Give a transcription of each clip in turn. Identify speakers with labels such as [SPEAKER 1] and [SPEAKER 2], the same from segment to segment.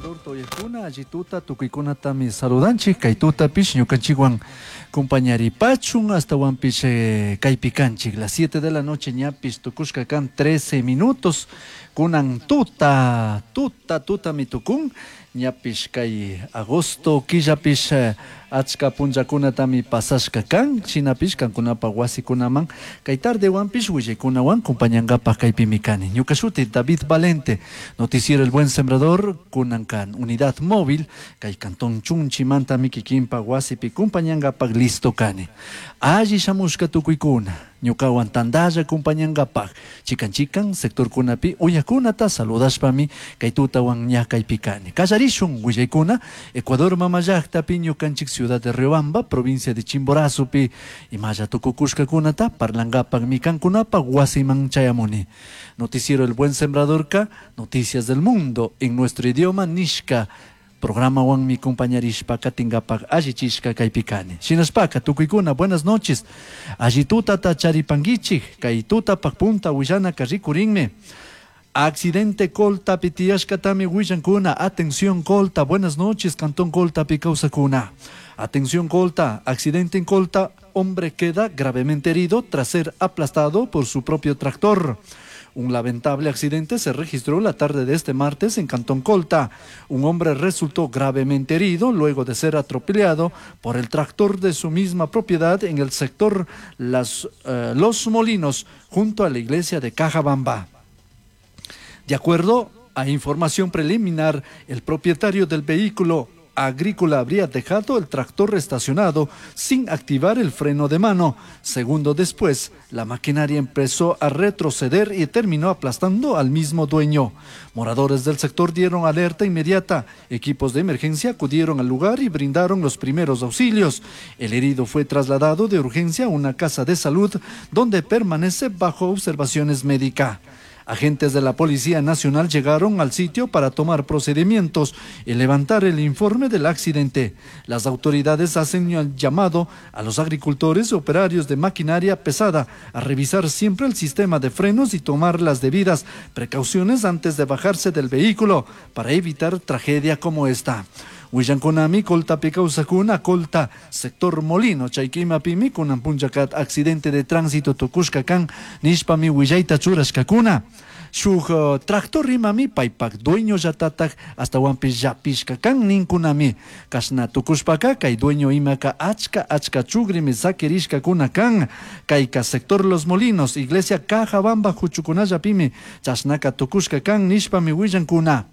[SPEAKER 1] Sembrador uyajkuna, alli tuta tukuykunatami saludanchik, kay tutapish ñukanchikwan compañaripachun hasta kaypi kanchik. Las 7 de la noche ñapish tukushka kan 13 minutos, kunan tuta, tuta, tutami tukun, ñapish kay agosto killapish achka punllakunatami pasashka kan, shinapish kankunapa wasikunaman kay tardewanpish willaykunawan compañankapak kaypimi kani. Ñuka shuti David Valente, noticiero El Buen Sembrador, kunan kan unidad móvil, kay cantón Chunchimantami kikinpa wasipi compañankapak listo kani. Alli shamushka tukuykuna, ñukawan tandalla compañankapak, chikan chikan sectorkunapi uyakunata saludashpami kay tutawan ña kaypi kani. Kallarishun willaykuna, Ecuador mama llaktapi ñukanchik ciudad de Riobamba, provincia de Chimborazopi, imalla tukukushkakunata parlankapakmi kankunapak wasiman chayamuni. Noticiero El Buen Sembradorka, Noticias del Mundo en nuestro idioma nishka programawanmi compañarishpa katinkapak allichishka kaypi kani. Shinashpaka tukuykuna buenas noches. Alli tutata charipankichik, kay tutapak punta willanaka rikurinmi. Accidente Coltapi tiyashkatami willankuna. Atención Colta, buenas noches, Cantón Coltapi kawsakuna. Atención Colta, accidente en Colta, hombre queda gravemente herido tras ser aplastado por su propio tractor. Un lamentable accidente se registró la tarde de este martes en Cantón Colta. Un hombre resultó gravemente herido luego de ser atropellado por el tractor de su misma propiedad en el sector Los Molinos, junto a la iglesia de Cajabamba. De acuerdo a información preliminar, el propietario del vehículo agrícola habría dejado el tractor estacionado sin activar el freno de mano. Segundo después, la maquinaria empezó a retroceder y terminó aplastando al mismo dueño. Moradores del sector dieron alerta inmediata. Equipos de emergencia acudieron al lugar y brindaron los primeros auxilios. El herido fue trasladado de urgencia a una casa de salud donde permanece bajo observaciones médicas. Agentes de la Policía Nacional llegaron al sitio para tomar procedimientos y levantar el informe del accidente. Las autoridades hacen el llamado a los agricultores y operarios de maquinaria pesada a revisar siempre el sistema de frenos y tomar las debidas precauciones antes de bajarse del vehículo para evitar tragedia como esta. Willankunami Coltapi kawsakuna Colta, sector Molino, chaykimapimi kunan punllakat accidente de tránsito tukushka kan nishpami willayta churashkakuna. Shuk tractor imami paypak dueño llatatak astawanpish llapishka kan ninkunami. Kashna tukushpaka kay dueño imaka achka achka chugrimi sakirishkakuna kan. Kayka sector Los Molinos, iglesia Cajabamba huchukunallapimi chashnaka tukushka kan nishpami willankuna.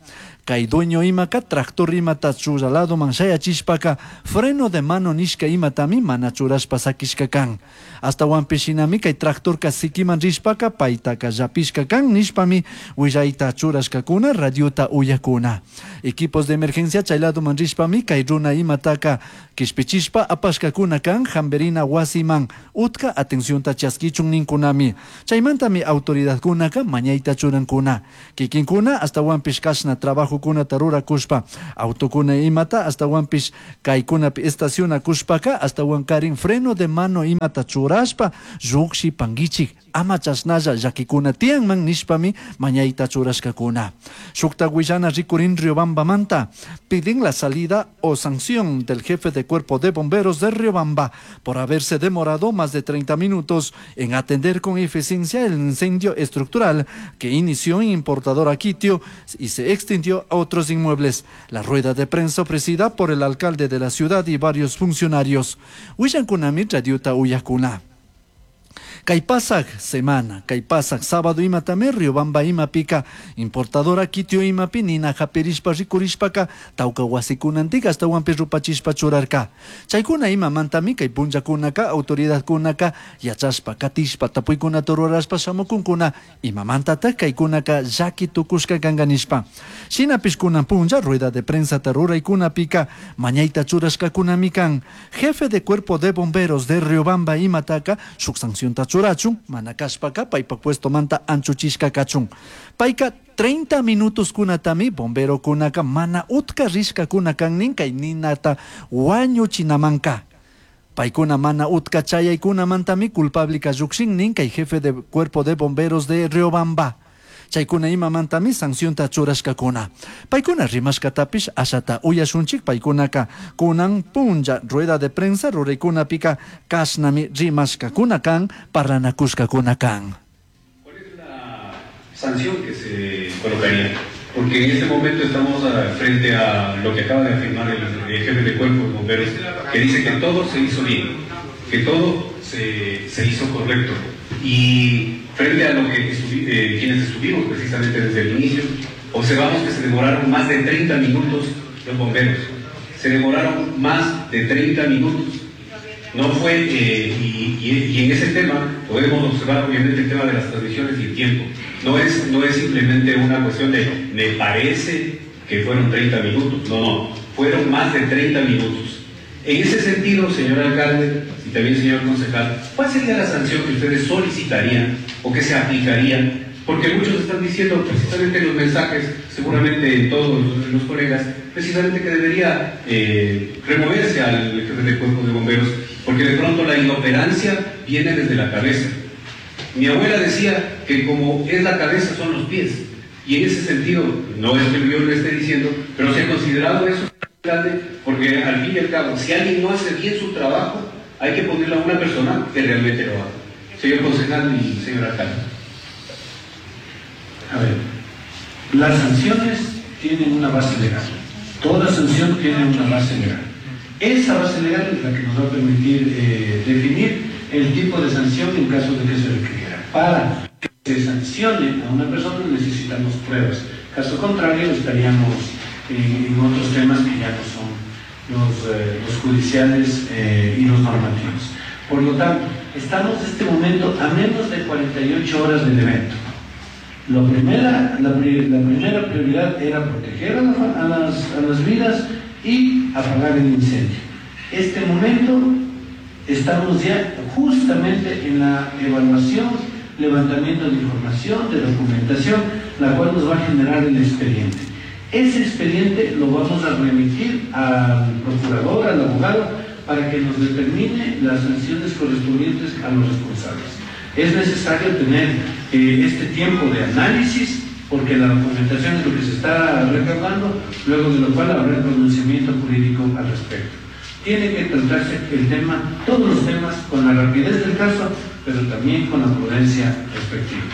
[SPEAKER 1] Kay dueño imaka tractor imata churalado shayachishpaka freno de mano nishka imatami mana churashpa sakishka kan. Astawanpish shinami kay tractorka sikiman rishpaka paytaka llapishka kan nishpami willayta churashkakuna radiota uyakuna. Equipos de emergencia chay ladoman rishpami kay runa imataka kishpichishpa apashkakuna kan hamberina wasiman utka atencionta chaskichun ninkunami. Chaymantami autoridadkunaka mañayta churankuna. Kikinkuna astawanpish kashna trabajo kunata rurakushpa autokuna imata astawanpish kaykunapi estacionakushpaka astawankarin freno de mano imata churashpa llukshi pankichik ama chashnalla llakikuna tiyanman nishpami mañayta churashkakuna. Shukta willana rikurin Riobambamanta piden la salida o sanción del jefe de cuerpo de bomberos de Riobamba por haberse demorado más de 30 minutos en atender con eficiencia el incendio estructural que inició en Importadora Quitio y se extendió a otros inmuebles. La rueda de prensa ofrecida por el alcalde de la ciudad y varios funcionarios. Willankunami radiota uyakuna. Kay pasak semana, kay pasak sábado imatami Riobamba imapika, importadora Quitio imapi nina hapirishpa rikurishpaka tawka wasikunantik ashtawanpi rupachishpa churarka. Chaykuna imamantami kay punllakunaka autoridadkunaka yachashpa katishpa tapuykunata rurashpa shamukunkuna imamantatak kaykunaka llaki tukushka kanka nishpa. Shinapish kunan punlla rueda de prensata ruraykunapika mañayta churashkakunami kan. Jefe de cuerpo de bomberos de Riobamba imataka shuk sancionta churachun, mana kashpaka paypak puesto manta anchuchishka kachun. Payka 30 minutos kunatami bombero kunaka mana utka rishka kuna kan nin kay ninata wañuchinamanka. Paykuna mana utka chayaykunamantami culpable ka llukshin nin kay jefe de cuerpo de bomberos de Riobamba. Chaicuna imamantami sancionta churashcacuna. Paicuna rimashcatapish ashata uyashunchik. Paicunaca cunan punlla rueda de prensa ruraicunapica cashnami rimashcacuna can, parlanacushcacuna can.
[SPEAKER 2] ¿Cuál es la sanción que se colocaría? Porque en este momento estamos frente a lo que acaba de afirmar el jefe de cuerpo de bomberos, que dice que todo se hizo bien, que todo se hizo correcto. Y frente a lo que quienes estuvimos precisamente desde el inicio, observamos que se demoraron más de 30 minutos los bomberos. Se demoraron más de 30 minutos. No fue, y en ese tema podemos observar obviamente el tema de las transmisiones y el tiempo. No es simplemente una cuestión de me parece que fueron 30 minutos, no, no, fueron más de 30 minutos. En ese sentido, señor alcalde y también señor concejal, ¿cuál sería la sanción que ustedes solicitarían o que se aplicaría? Porque muchos están diciendo precisamente en los mensajes, seguramente todos los colegas, precisamente que debería removerse al jefe de cuerpo de bomberos, porque de pronto la inoperancia viene desde la cabeza. Mi abuela decía que como es la cabeza son los pies, y en ese sentido, no es que yo lo esté diciendo, pero se ha considerado eso, porque al fin y al cabo, si alguien no hace bien su trabajo, hay que ponerle a una persona que realmente lo haga. Señor concejal y señor alcalde.
[SPEAKER 3] A ver, las sanciones tienen una base legal. Toda sanción tiene una base legal. Esa base legal es la que nos va a permitir definir el tipo de sanción en caso de que se requiriera. Para que se sancione a una persona necesitamos pruebas. Caso contrario, estaríamos en otros temas que ya no son los judiciales y los normativos. Por lo tanto, estamos en este momento a menos de 48 horas del evento. La primera prioridad era proteger a las vidas y apagar el incendio. Este momento estamos ya justamente en la evaluación, levantamiento de información, de documentación, la cual nos va a generar el expediente. Ese expediente lo vamos a remitir al procurador, al abogado, para que nos determine las sanciones correspondientes a los responsables. Es necesario tener este tiempo de análisis, porque la documentación es lo que se está recaudando, luego de lo cual habrá el pronunciamiento jurídico al respecto. Tiene que tratarse el tema, todos los temas, con la rapidez del caso, pero también con la prudencia respectiva.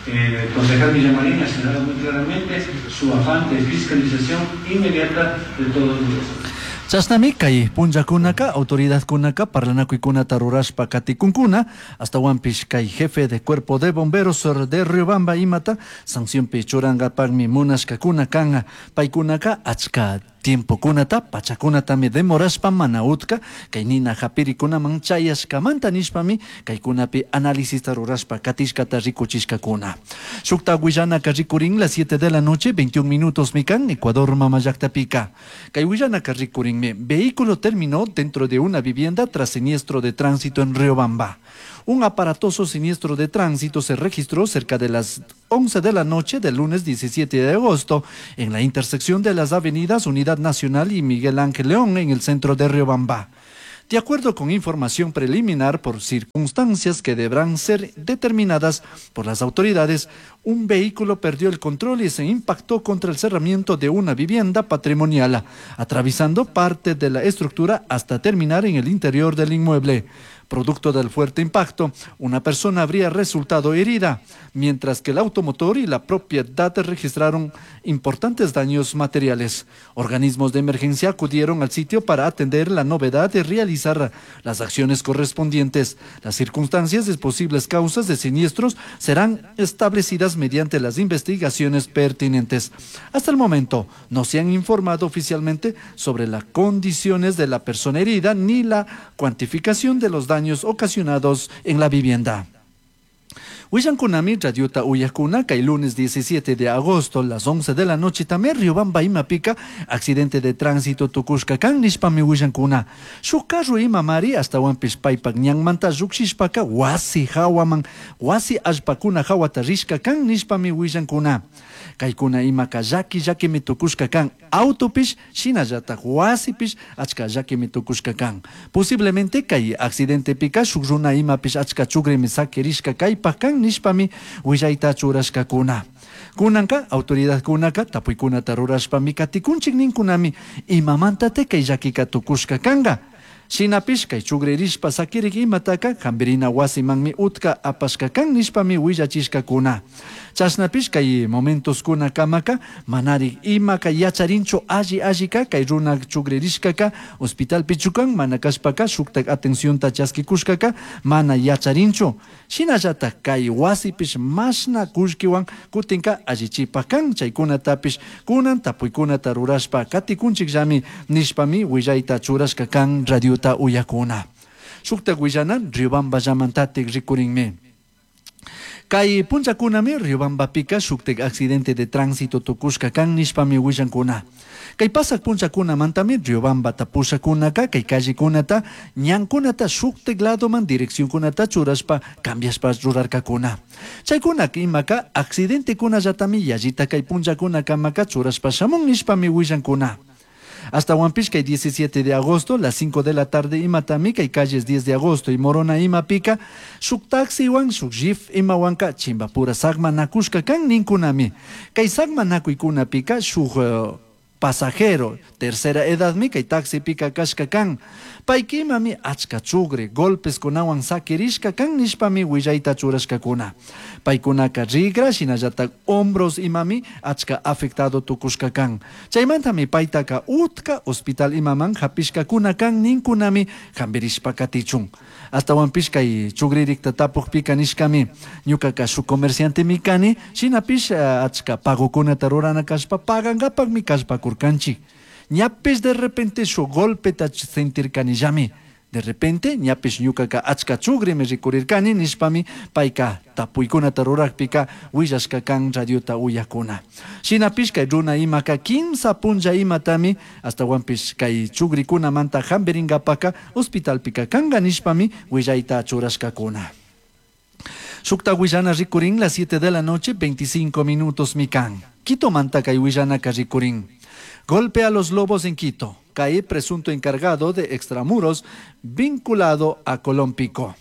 [SPEAKER 3] El concejal Villamarín ha señalado muy claramente su afán de fiscalización inmediata de todos los.
[SPEAKER 1] Chashnami kay punllakunaka autoridadkunaka parlanakuykunata rurashpa katikunkuna astawanpish kay jefe de cuerpo de bomberos de Riobamba imata sancionpi churankapakmi munashkakuna kan paykunaka achka tiempokunata pachakunatami demorashpa mana utka kay nina hapirikunaman chayashkamanta nishpami kaykunapi análisista rurashpa katishkata rikuchishkakuna. Shukta willanaka rikurin las 7 de la noche 21 minutos mikan Ecuador mamallaqtapika. Kay willanaka rikurinmi vehículo terminó dentro de una vivienda tras siniestro de tránsito en Riobamba. Un aparatoso siniestro de tránsito se registró cerca de las 11 de la noche del lunes 17 de agosto en la intersección de las avenidas Unidad Nacional y Miguel Ángel León en el centro de Riobamba. De acuerdo con información preliminar por circunstancias que deberán ser determinadas por las autoridades, un vehículo perdió el control y se impactó contra el cerramiento de una vivienda patrimonial, atravesando parte de la estructura hasta terminar en el interior del inmueble. Producto del fuerte impacto, una persona habría resultado herida, mientras que el automotor y la propiedad registraron importantes daños materiales. Organismos de emergencia acudieron al sitio para atender la novedad y realizar las acciones correspondientes. Las circunstancias y posibles causas de siniestros serán establecidas mediante las investigaciones pertinentes. Hasta el momento, no se han informado oficialmente sobre las condiciones de la persona herida ni la cuantificación de los daños ocasionados en la vivienda. Willankunami radiota uyakuna kay lunes 17 de agosto las 11 de la noche también Riobamba imapika accidente de tránsito tukushka kan nishpami willankuna. Shuk carro imamari astawanpish paypak ñanmanta llukshishpaka wasi hawaman wasi allpakuna hawata rishka kan nishpami willankuna. Kaykuna imaka llaki llakimi tukushka kan autopish shinallatak wasipish achka llakimi tukushka kan. Posiblemente kay accidentepika shuk runa imapish achka chukrimi sakirishka kaypak kan nishpami willayta churashkakuna. Kunanka autoridadkunaka tapuykunata rurashpami katikunchik ninkunami imamantatik kay llakika tukushka kanka. Shinapish kay chugririshpa sakirik imataka hambirina wasimanmi utka apashka kan nishpami willachishkakuna. Chashnapish kay momentoskunakamaka manarik imaka yacharinchu alli allika kay runa chugririshkaka hospitalpichu kan mana kashpaka shuktak atencionta chaskikushkaka mana yacharinchu. Shinallatak kay wasipish mashna kullkiwan kutinka allichipak kan chaykunatapish kunan tapuykunata rurashpa katikunchikllami nishpami willayta churashka kan radiota uyakuna. Shuktak willana Riobamba llamantatik rikurinmi. Kay punchakunami Riobambapika shuktak accidente de tránsito tukushka kan nishpami willankuna. Kay pasak punchakunamantami Riobambata pushakunaka kay callekunata ñankunata shuktak ladoman direccionkunata churashpa cambiashpa rurarkakuna. Chaykunaka imaka accidentekunallatami yallita kay punchakunakamaka churashpa shamun nishpami willankuna. Hasta kay 17 de agosto, las 5 de la tarde imatami kay calles 10 de agosto y Morona imapika, shuk taxiwan, shuk jeep imawanka, chimbapura sagmanakushka kan ninkunami. Kay sagmanakuykunapika shuk pasajero, tercera edadmi kay taxipika kashka kan. Paykimami achka chugre, golpes kunawan sakirishka kan nishpami willayta churashkakuna. Paykunaka rigra, shinallatak hombros imami achka afectado tukushka kan. Chaymantami paytaka utka hospital imaman hapishkakuna kan ninkunami hambirishpa katichun. Astawanpish kay chugririkta tapukpika nishkami ñukaka shuk comerciantemi kani, shinapish achka pagokunata rurana kashpa pagankapakmi kashpakurkanchik. Ñapish de repente shuk golpeta sentirkanillami. De repente ñapish ñukaka achka chugrimi rikurirkani nishpami payka tapuykunata rurakpika willashka kan radiota uyakuna. Shinapish kay runa imaka kimsa punlla imatami astawanpish kay chugrikunamanta hambirinkapaka hospitalpika kanka nishpami willayta churashkakuna. Shukta willana rikurin las 7 de la noche 25 minutos mikan. Quitomanta kay willanaka rikurin. Golpe a los lobos en Quito. Cae presunto encargado de extramuros vinculado a Colón Pico.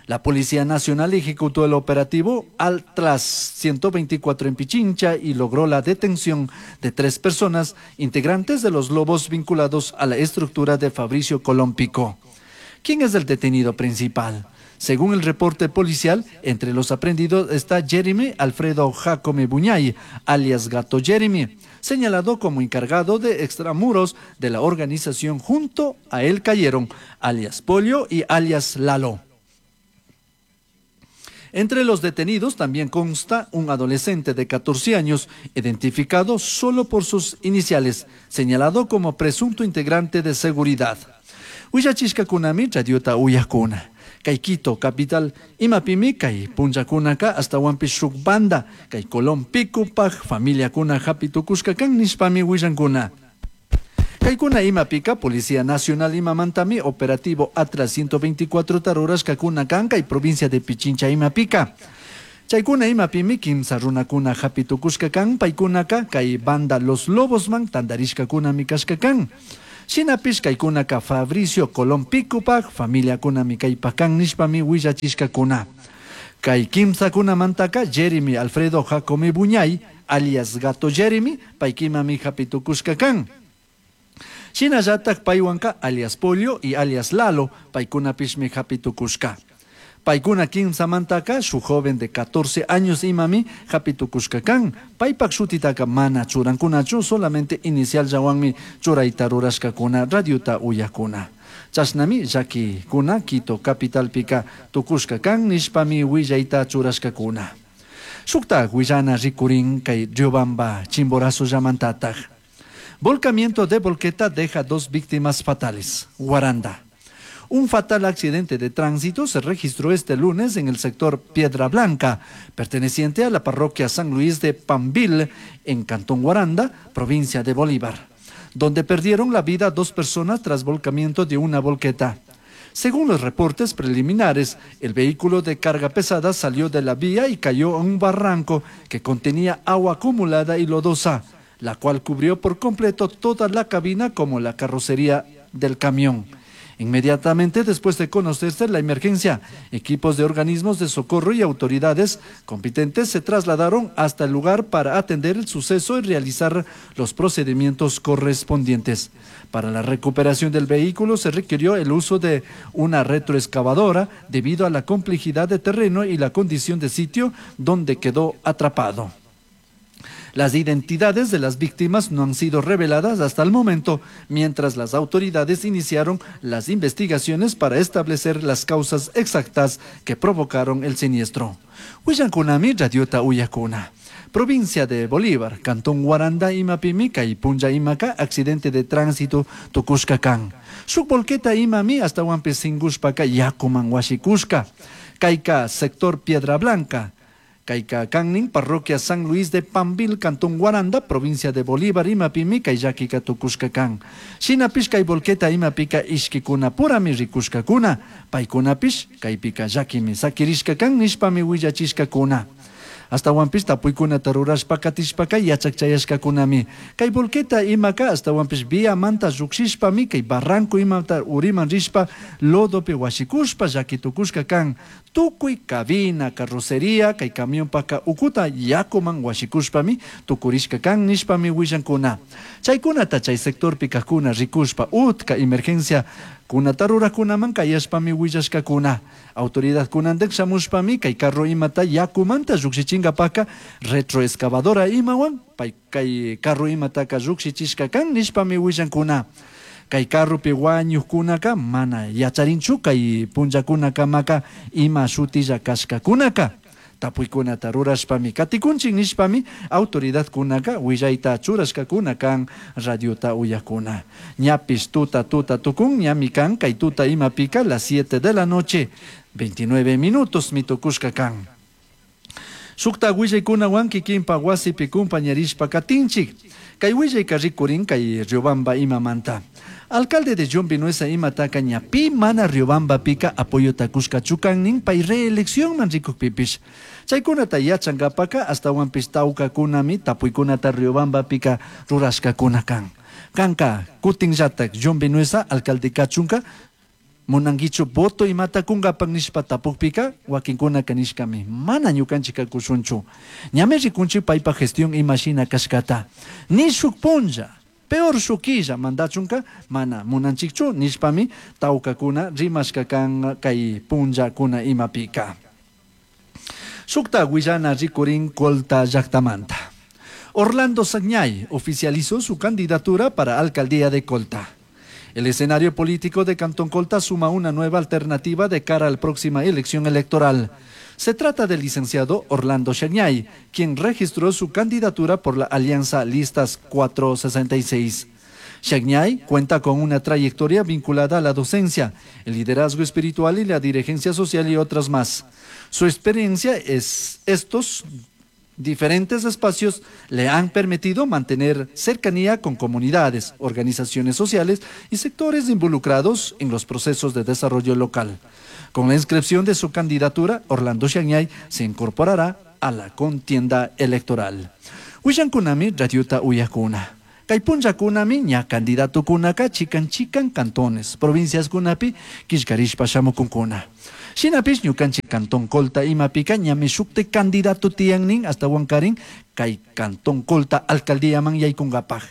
[SPEAKER 1] La Policía Nacional ejecutó el operativo Altras 124 en Pichincha y logró la detención de 3 personas integrantes de los lobos vinculados a la estructura de Fabricio Colón Pico. ¿Quién es el detenido principal? Según el reporte policial, entre los aprehendidos está Jeremy Alfredo Jacome Buñay, alias Gato Jeremy, señalado como encargado de extramuros de la organización. Junto a él cayeron alias Polio y alias Lalo. Entre los detenidos también consta un adolescente de 14 años, identificado solo por sus iniciales, señalado como presunto integrante de seguridad. Willachishkakunami radiota uyakuna. Kay Quito, capital, imapimi kay punllakunaka astawanpish shuk banda, kay Colón Picopaj, familiakuna hapitukushka kan nishpami willankuna. Kaykuna imapika, Policía Nacional imamantami operativo Atlas 124 tarurashkakuna kan kay provincia de Pichincha imapika. Chaykuna imapimi kimsa runakuna hapitukushka kan paykunaka kay banda Los Lobosman tandarishkakunami kashka kan. Shinapish kaykunaka Fabricio Colón Picopaj, familiakunami kaypakan nishpami willachishkakuna. Kay kimsakunamantaka Jeremy Alfredo Jacome Buñay, alias Gato Jeremy, paykimami hapitukushka kan. Shinallatak paywanka alias Polio y alias Lalo, paykunapishmi hapitukushka. Paykuna kimsamantaka shuk joven de 14 años imami hapitukushka kan. Paypak shutitaka mana churankunachu, solamente inicial llawanmi churayta rurashkakuna, radiota uyakuna. Chashnami llakikuna Quito capitalpika tukushka kan nishpami willayta churashkakuna. Shuktak willana rikurin kay Riobamba Chimborazo llamantatak. Volcamiento de volqueta deja 2 víctimas fatales. Guaranda. Un fatal accidente de tránsito se registró este lunes en el sector Piedra Blanca, perteneciente a la parroquia San Luis de Pambil, en Cantón Guaranda, provincia de Bolívar, donde perdieron la vida 2 personas tras volcamiento de una volqueta. Según los reportes preliminares, el vehículo de carga pesada salió de la vía y cayó a un barranco que contenía agua acumulada y lodosa, la cual cubrió por completo toda la cabina como la carrocería del camión. Inmediatamente después de conocerse la emergencia, equipos de organismos de socorro y autoridades competentes se trasladaron hasta el lugar para atender el suceso y realizar los procedimientos correspondientes. Para la recuperación del vehículo se requirió el uso de una retroexcavadora debido a la complejidad de terreno y la condición de sitio donde quedó atrapado. Las identidades de las víctimas no han sido reveladas hasta el momento, mientras las autoridades iniciaron las investigaciones para establecer las causas exactas que provocaron el siniestro. Huillankunami radiota uyakuna. Provincia de Bolívar, Cantón Guaranda, imapimi, kay punlla imaka, accidente de tránsito tukushka kan. Shuk volqueta imami ashtahuanpish singushpaka yakuman huashikushka. Kayka sector Piedra Blanca. Kayka kannin, parroquia San Luis de Pambil, Cantón Guaranda, provincia de Bolívar, imapimi, kay llakika tukushka kan. Shinapish kay volqueta imapika ishkikuna purami rikushkakuna, paykunapish kaypika llakimi sakirishka kan nishpami willachishkakuna. Ashtahuanpish tapuykunata rurashpa katishpaka yachak chayashkakunami. Kay volqueta imaka ashtahuanpish viamanta llukshishpami kay barranco imata uriman rishpa lodopi huashikushpa llaki tukushka kan. Tukuy cabina, carrocería, kay camionpaka ukuta yakuman huashikushpami tukurishka kan nishpami willankuna. Chaykunata chay sectorpi kajkuna rikushpa utka emergencia kunata rurakunaman kayashpami willashkakuna. Autoridad kunantik shamushpami kay carro imata yakumanta llukshichinkapaka retroexcavadora imawan pay kay carro imataka llukshichishka kan nishpami willankuna. Kay carropi wañukkunaka mana yacharinchu kay punllakunakamaka ima shutilla kashkakunaka. Tapuykunata rurashpami katikunchik nishpami autoridadkunaka willayta churashkakuna kan radiota uyakuna. Ñapish tuta tuta tukun ñami kan kay tuta imapika las 7 de la noche 29 minutos mitukushka kan. Shukta willaykunawan kikinpa wasipi kumpañarishpa katinchik. Kay willayka rikurin kay Riobamba imamanta. Alcalde de John Vinuesa imataka ña pi mana Riobambapika apoyota kushkachu kannin pay reelección man rikukpipish. Chaykunata yachankapaka ashtawanpish tawkakunami tapuykunata Riobambapika rurashkakuna kan. Kanka kutinllatak John Vinuesa alcalde kachunka munankichu voto imata kunkapak nishpa tapukpika wakinkunaka nishkami mana ñukanchik kushunchu. Ñami rikunchik paypa gestión imashina kashkata. Ni shuk punlla, peor shukilla mandachunka mana munanchikchu nishpami tawkakuna rimashka kan kay punllakuna imapika. Shukta willana rikurin Colta llaktamanta. Orlando Sagñay oficializó su candidatura para alcaldía de Colta. El escenario político de Cantón Colta suma una nueva alternativa de cara a la próxima elección electoral. Se trata del licenciado Orlando Sagñay, quien registró su candidatura por la Alianza Listas 466. Sagñay cuenta con una trayectoria vinculada a la docencia, el liderazgo espiritual y la dirigencia social y otras más. Su experiencia es estos diferentes espacios le han permitido mantener cercanía con comunidades, organizaciones sociales y sectores involucrados en los procesos de desarrollo local. Con la inscripción de su candidatura, Orlando Sagñay se incorporará a la contienda electoral. Willankunami radiota uyakuna. Kay punllakunami ña kandidatukunaka chikan chikan cantones, provincias kunapi killkarishpa shamukunkuna. Shinapish ñukanchik Cantón Colta imapika ñami shukti candidato tiyannin ashtawankarin kay Cantón Colta alcaldíaman yaykunkapaj.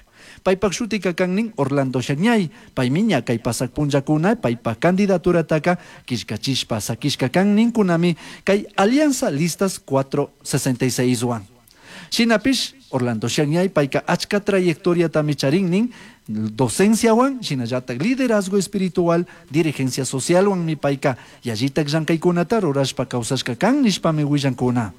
[SPEAKER 1] Paypak shutika kannin Orlando Sagñay, paymi ña kay pasak punllakuna paypak candidaturataka killkachishpa sakishka kanninkunami kay Alianza Listas 466 wan. Shinapish Orlando Sagñay payka achka trayectoriatami charinnin docenciawan, shinallatak liderazgo espiritual, dirigencia socialwan mi payka yallitak llankaykunata rurashpa kawsashka kan nishpami willankuna.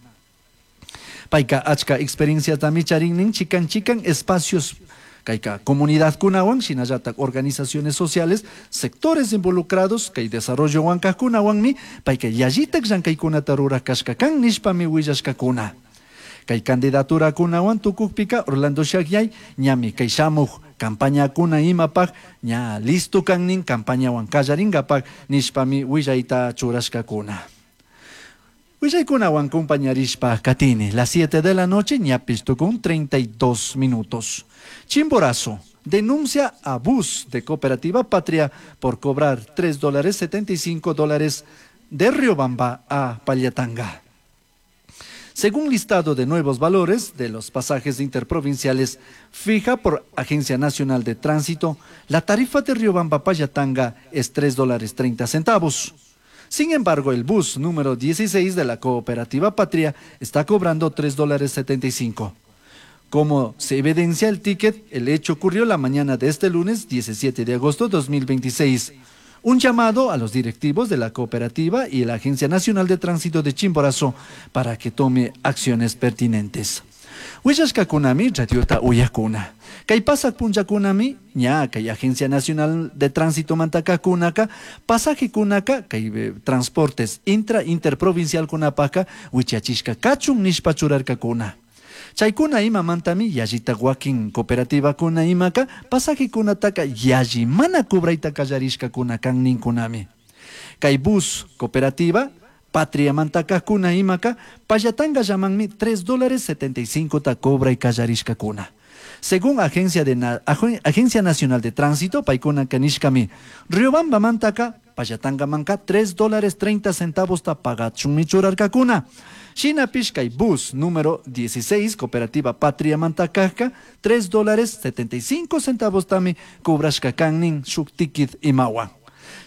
[SPEAKER 1] Payka achka experienciatami charinnin chikan chikan espacios kayka comunidadkunawan, shinallatak organizaciones sociales, sectores involucrados kay desarrollowan kajkunawanmi payka yallitak llankaykunata rurak kashka kan nishpami willashkakuna. Kay candidaturakunawan tukukpika Orlando Sagñay ñami kay shamuk campañakuna imapaj ña listo kannin campañawan kallarinkapak nishpami willayta churashkakuna. Willaykunawan compañarishpa katini, las 7 de la noche ñapish tukun 32 minutos. Chimborazo. Denuncia a bus de Cooperativa Patria por cobrar 3 dólares 75 dólares de Riobamba a Pallatanga. Según listado de nuevos valores de los pasajes interprovinciales fija por Agencia Nacional de Tránsito, la tarifa de Riobamba Pallatanga es 3 dólares 30 centavos. Sin embargo, el bus número 16 de la Cooperativa Patria está cobrando 3 dólares 75. Como se evidencia el ticket, el hecho ocurrió la mañana de este lunes 17 de agosto de 2026. Un llamado a los directivos de la cooperativa y la Agencia Nacional de Tránsito de Chimborazo para que tome acciones pertinentes. Willashkakunami radiota uyakuna. Kay pasak punllakunami ña kay Agencia Nacional de Tránsito mantakakunaka pasajekunaka kay transportes intra interprovincial kunapaka wichachishka kachun nishpa churarkakuna. Chaykuna imamantami yallita wakin cooperativakuna imaka pasajekunataka yalli mana cobrayta kallarishkakuna kan ninkunami. Kay bus cooperativa Patria mantakakuna imaka Pallatanga llamanmi 3 dólares 75 ta cobray kallarishkakuna. Según Agencia Nacional de Tránsito, paykuna kanishkami, Riobamba mantaka Pallatanga manka 3 dólares 30 centavos ta pagachunmi churarkakuna. Shinapish kay bus número 16, Cooperativa Patria Mantakajka, 3 dólares 75 centavos tami cobrashka kannin shuk ticket imawan.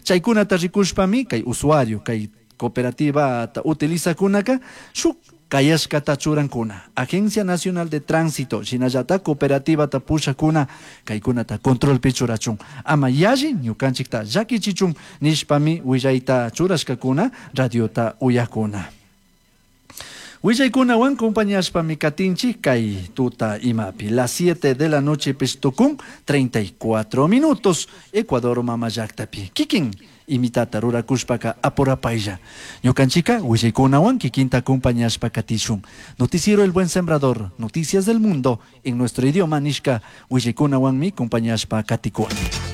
[SPEAKER 1] Chaykunata rikushpami kay usuario, kay cooperativa ta utilizakunaka, shuk kayashkata churankuna. Agencia Nacional de Tránsito, shinallata cooperativa ta pushakuna, kaykunata controlpi churachun. Ama yalli ñukanchikta llakichichun nishpami willayta churashkakuna, radiota uyakuna. Willaykunawan compañashpami katinchik kay tuta imapi. Las 7 de la noche pistukun, 34 minutos, Ecuador mama llaktapi. Kikin imitata rurakushpaka apurapaylla. Ñukanchika willaykunawan kikinta acompañashpa katishun. Noticiero El Buen Sembrador, noticias del mundo en nuestro idioma nishka willaykunawanmi compañashpa katikuni.